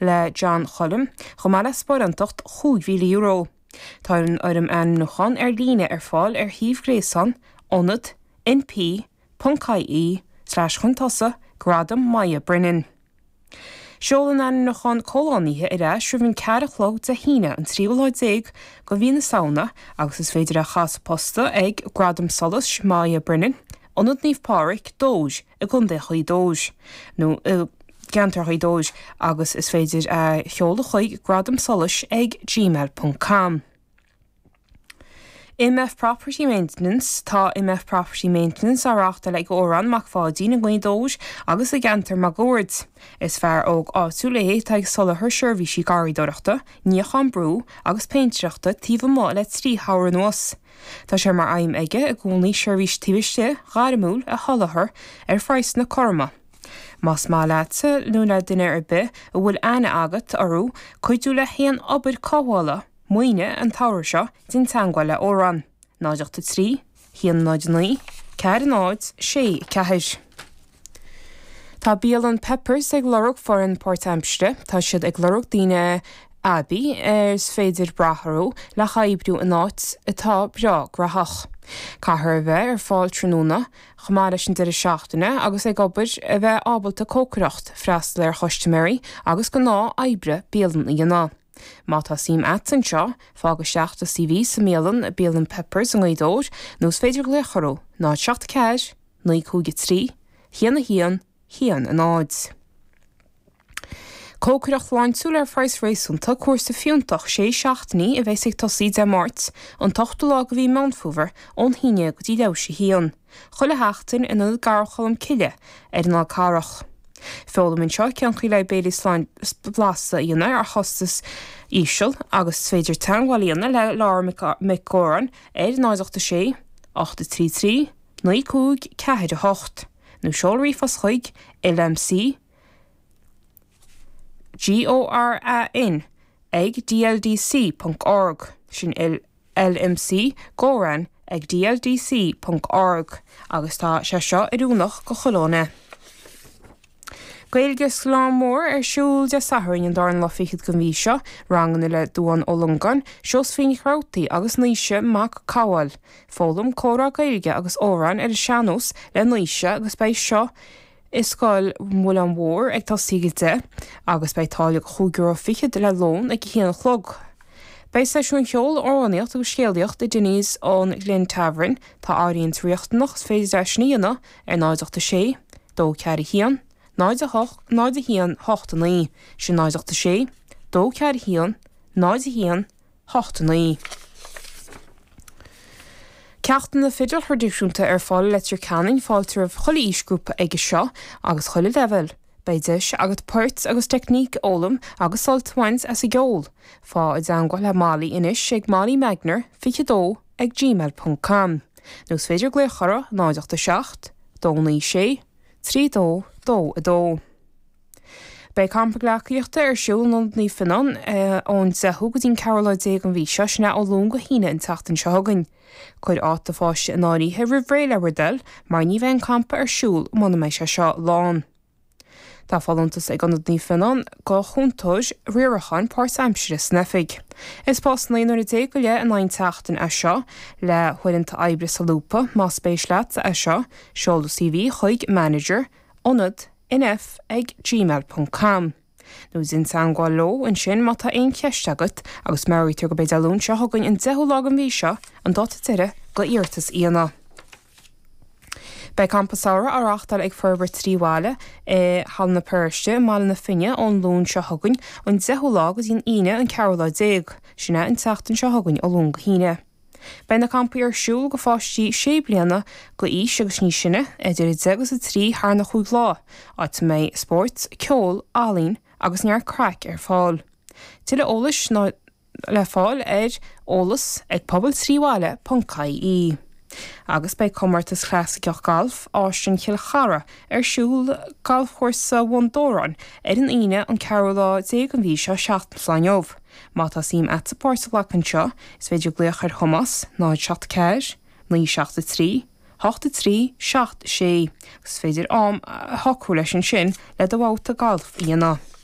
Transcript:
le John Choilm, chomh maith le sparánacht €5,000. Tá an fhoirm ainmniúcháin ar líne ar fáil ar shuíomh gréasáin Ionad NP ponc IE slash chun tosaigh Gradam Moya Brennan. Seol an ainmniúchán comhlánaithe ar ais roimh an 4 a chlog Dé hAoine an tríú lá déag de mhí na Samhna agus is féidir é a chur sa post ag Gradam Solais Moya Brennan, Ionad Naomh Pádraig, Dobhair, i gContae Ghaoth Dobhair, nó i gceantar Ghaoth Dobhair agus is féidir é a sheoladh chuig gradamsolais ag gmail ponc com. MF Property Maintenance Tá MF Property Maintenance á reáchtáil ag Odhrán Mac Pháidín i nGaoth Dobhair agus i gceantar máguaird. Is fear óg áitiúil é atá ag soláthar seirbhísí garraíodóireachta, níochán brú agus péintéireachta taobh amuigh le 3 shamhradh anuas. Tá sé mar aidhm aige i gcónaí seirbhís taobh istigh ghairmiúil a sholáthar ar phraghsanna cothroma. Más maith leatsa nó le duine ar bith a bhfuil aithne agat orthu cuidiú le haon obair cothabhála, maoine an tsamhradh seo, déan teagmháil le Odhrán, 0 8 3 1 0 9 4 0 6 4. Tá bialann Peppers ag lorg foireann páirtaimsire. Tá siad ag lorg daoine aibí ar is féidir brath orthu le hoibriú in áit atá breá graitheach. Caithfear a bheith ar fáil tráthnóna, chomh maith leis an deireadh seachtaine agus ag obair, a bheith ábalta cócaireacht, freastal ar chustaiméirí agus gnáth oibre bialann a dhéanamh. Má tá suim a't anseo, fág isteach do CV sa mbialann, Bialann Peppers i nGaoth Dobhair, nó is féidir glaoch orthu, 0 7 4 9 5 3 1 1 1 0. Cócaireacht shláintiúil ar phraghas réasúnta, cúrsa fiúntach sé seachtainí a bheas ag tosaí Dé Máirt, an t-ochtú lá de mhí Meán Fómhair, ón haon déag go dtí leathuair théis a haon. Chuile sheachtain in Ionad Garraí Cholm Cille ar an Fhál Carrach. Foghlaim anseo cén chaoi le béilí blasta a dhéanamh ar chostas íseal agus is féidir teagmháil a dhéanamh le Laura Mhic Góráin ar 0 8 6 8 3 3 9 5 4 8 nó seol ríomhphost chuig lmc goran ag dldc ponc org sin lmc goran ag dldc ponc org agus tá sé seo oiriúnach go chuile dhuine. Gaeilge sa Ghleann Mór ar siúl Dé Sathairn an darna lá fichead den mhí seo, ranganna le Dubhán Ó Longáin, Seosaimhín Nic Rabhartaigh agus Naoise Mac Cobháil. Foghlaim comhrá Gaeilge agus amhráin ar an sean-nós le Naoise agus beidh seo i Scoil Mhuileann Mhór ag tosaí ag 10 agus beidh táille €5.20 le lón ag 1 a chlog. Beidh seisiúin cheoil, amhránaíocht agus scéalaíocht i Dinny's an Glen Tavern. Tá áirithint riachtanach is féidir é sin a dhéanamh ar 0 8 6 2 4 1 0 8 0 1 8 9, sin 0 8 6 2 4 1 0 1 8 9. Ceachtanna fidil thraidisiúnta ar fáil i Leitir Ceanainn, fáilte roimh chuile aoisghrúpa aige seo agus chuile leibhéal. Beidh deis agat poirt agus teicníc a fhoghlaim agus sult a bhaint as an gceol. Faigh i dteangmháil le Molly anois ag mollymagner 22 ag gmail ponc com nó is féidir glaoch orthu 0 8 7 2 9 6 3 2 2 2. Beidh campa gleacaíochta ar siúl in Ionad Naomh Fionnán ón 10ú go dtí an 14ú lá den mhí seo, sin é ó Luan go hAoine an tseachtain seo chugainn. Cuir áit do pháiste in áirithe roimh ré le bhur dtoil mar ní bheidh an campa ar siúl muna mbeidh sé seo lán. Tá folúntas ag Ionad Naomh Fionnán go chúntóir riaracháin páirtaimsire san oifig. Is post 19 nuaire go leith in aghaidh an tseachtain é seo le huaireanta oibre solúbtha. Más spéis leat é seo, seol do CV chuig manager, ionad, nf ag gmail ponc com nó déan teangmháil leo ansin má tá aon cheist agat agus meabhraítear gurb é Dé Luain seo chugainn an 10ú lá den mhí seo an dáta deiridh go iarratas a dhéanamh. Beidh Campa Samhraidh á reáchtáil ag Forbairt 3 Bhaile i Halla na Paróiste i mBaile na Finne ón Luan seo chugainn an 10ú lá go dtí an Aoine an 14ú lá, sin é an tseachtain seo chugainn ó Luan go hAoine. Beidh na campaí ar siúl go pháistí 6 bliana go aois agus níos sine, idir 10 agus 3 thar na chúig lá, áit a mbeidh spóirt, ceol, ealaín agus neart craic ar fáil. Tuilleadh eolais le fáil ar eolas ag pobal3bhaile.ie. Agus beidh comórtas clasaiceach gailf Áislann Chill Chartha ar siúl Galfchúrsa Bhun Dobhráin ar an Aoine an ceathrú lá déag den mhí seo, seachtain ón lá inniu. Má tá suim a't páirt a ghlacadh anseo, is féidir glaoch ar Thomás, 0 7 4 9 7 3 8 3 7 6, agus is féidir am a shocrú leis ansin le do bhabhta gailf a dhéanamh.